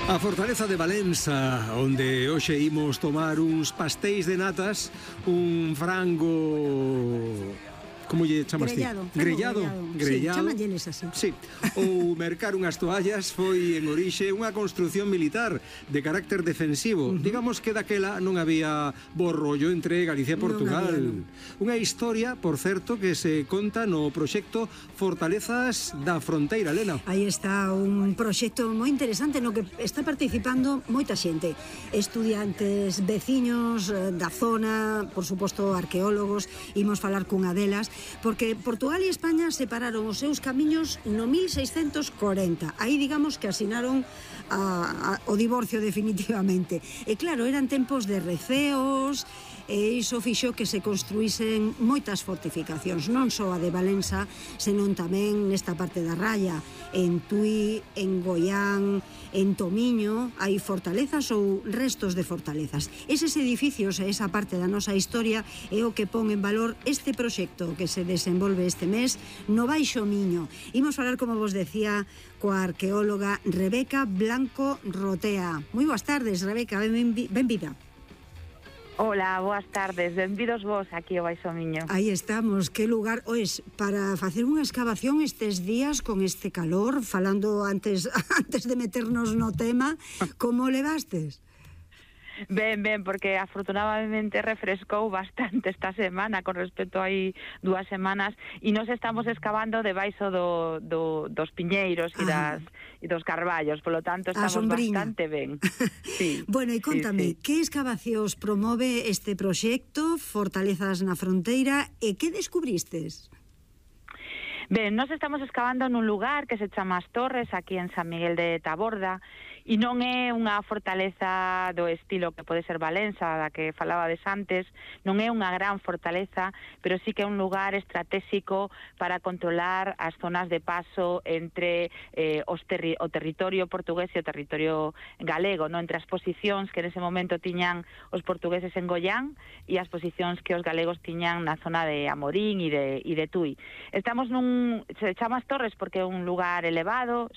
A Fortaleza de Valença, onde hoxe imos tomar uns pastéis de natas, un frango... Como lle chamas ti? Grellado. Sí, chamalleles así. Sí, ou mercar unhas toallas foi en orixe unha construción militar de carácter defensivo. Digamos que daquela non había bo rollo entre Galicia e Portugal. Unha historia, por certo, que se conta no proxecto Fortalezas da Fronteira, Elena. Aí está un proxecto moi interesante no que está participando moita xente. Estudiantes, veciños da zona, por suposto arqueólogos, imos falar cunha delas, porque Portugal e España separaron os seus camiños no 1640. Aí digamos que asinaron o divorcio definitivamente. E claro, eran tempos de receos, e iso fixo que se construísen moitas fortificacións, non só a de Valença, senón tamén nesta parte da Raya, en Tui, en Goián, en Tomiño, hai fortalezas ou restos de fortalezas. Eses edificios e esa parte da nosa historia é o que pon en valor este proxecto que se desenvolve este mes no Baixo Miño. Imos falar, como vos decía, coa arqueóloga Rebeca Blanco Rotea. Moi boas tardes, Rebeca, benvida. Hola, boas tardes, benvidos vos aquí ao Baixo Miño. Aí estamos, que lugar, oes, para facer unha excavación estes días con este calor, falando antes de meternos no tema, como levastes? Ben, porque afortunadamente refrescou bastante esta semana con respecto a aí 2 semanas e nos estamos excavando debaixo dos piñeiros e dos carballos, polo tanto estamos bastante ben. Sí, bueno, e contame, que excavacións promove este proxecto Fortalezas na Fronteira e que descubristes? Ben, nos estamos excavando nun lugar que se chama As Torres, aquí en San Miguel de Taborda, e non é unha fortaleza do estilo que pode ser Valença, da que falabades antes, non é unha gran fortaleza, pero sí que é un lugar estratégico para controlar as zonas de paso entre o territorio portugués e o territorio galego, no? Entre as posicións que nese momento tiñan os portugueses en Goián e as posicións que os galegos tiñan na zona de Amorín e de Tui. Estamos se chama As Torres porque é un lugar elevado,